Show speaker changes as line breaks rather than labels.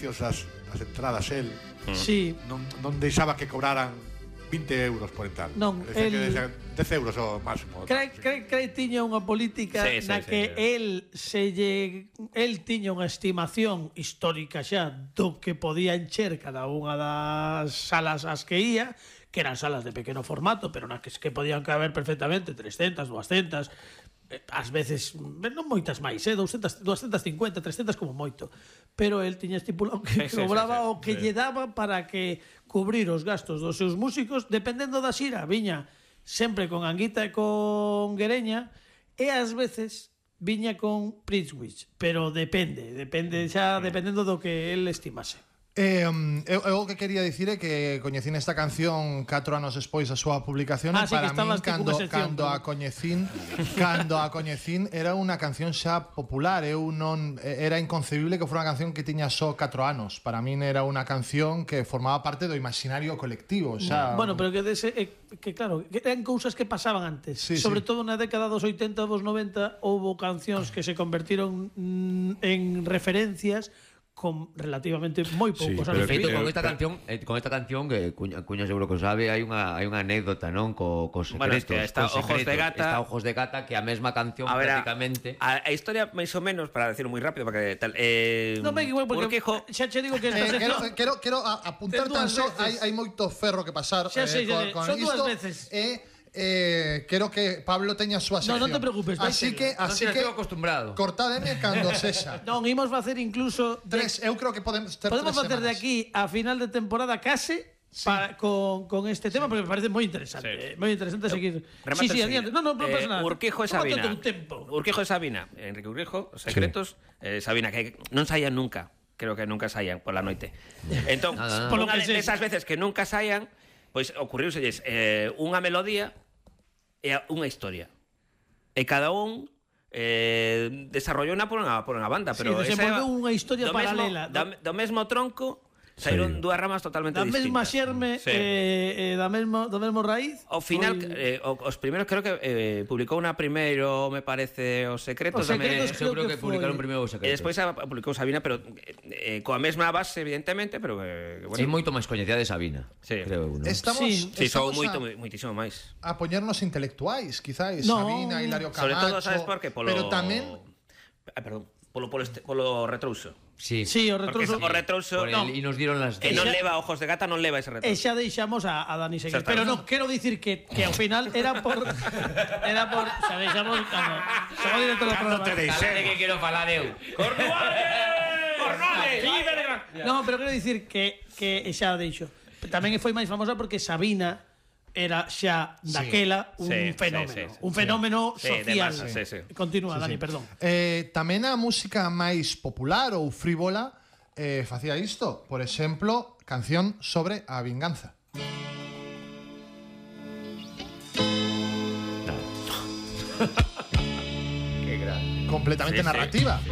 precios das entradas el.
Sí.
Non deixaba que cobraran 20 euros por entrar.
Non,
Decía que decía 10 euros o máximo.
Creo tiña unha política na que el tiña unha estimación histórica xa do que podía encher cada unha das salas ás que ia, que eran salas de pequeno formato, pero nas que podían caber perfectamente 300, 200, ás veces non moitas máis, 250, 300 como moito, pero el tiña estipulado que cobraba o que lle daba para que cubrir os gastos dos seus músicos, dependendo da xira. Viña sempre con Anguita e con Guereña, e ás veces viña con Pritzwich, pero depende xa dependendo do que el estimase.
Eu que quería dicir é que coñecín esta canción 4 anos despois da súa publicación, e para min cando a coñecín era unha canción xa popular. Era inconcebible que fora unha canción que tiña só 4 anos. Para min era unha canción que formaba parte do imaginario colectivo, xa.
Bueno, pero que claro, que eran cousas que pasaban antes. Sobre todo na década dos 80 e dos 90 houbo cancións que se convertiron en referencias con relativamente moi poucos anos.
Feito con esta canción que Cuña seguro que sabe, hai unha anécdota, non, co Secretos.
Bueno, es que está Ojos de Gata.
Está Ojos de Gata, que a mesma canción prácticamente.
A historia máis ou menos, para decirlo moi rápido, para que tal,
non me igual porque xa che digo que
quero apuntar tan só, hai moito ferro que pasar
con son dúas veces.
Quero que Pablo teña a súa sección.
Non te preocupes,
así que
estou acostumbrado.
Cortádeme cando sexa.
Non, imos facer incluso
eu creo que podemos
facer de aquí a final de temporada case con este tema, porque me parece moi interesante. Moi interesante seguir. Sí, adiante. Non pasa nada.
Urquijo e Sabina. Enrique Urquijo, Secretos, Sabina, que non saían nunca. Creo que nunca saían pola noite. Entón, unha desas veces que nunca saían, pois ocurriuselles unha melodía e unha historia. E cada un desarrollou por unha banda, pero
desenvolveu unha historia paralela
do mesmo tronco. Saíron dúas ramas totalmente distintas.
Da mesma xerme do mesmo raíz.
Ao final, os primeiros creo que publicou unha primeiro, me parece, Os Secretos.
Creo que publicaron primeiro Os Secretos.
E despois publicou Sabina, pero coa mesma base, evidentemente, pero
é moito máis coñecida de Sabina, creo eu, non?
Estamos
sou moitísimo máis.
A poñernos intelectuais, quizais, Sabina, Hilario Camacho.
Sobre todo, sabes por qué?
Pero tamén
polo retrouso.
Sí, o retrouso.
O retrouso
e nos dieron las
que non leva Ojos de Gata, non leva ese retrouso.
E xa deixamos a Dani seguir. Pero non, quero dicir que ao final era por xa deixamos cando somos director do programa.
Calade que quero falar eu.
Cornuales.
Non, pero quero dicir que xa deixo. Tamén foi máis famosa porque Sabina era xa daquela un fenómeno social. Continúa, Dani, perdón.
Tamén a música máis popular ou frívola facía isto. Por exemplo, canción sobre a vinganza.
Qué grande.
Completamente narrativa.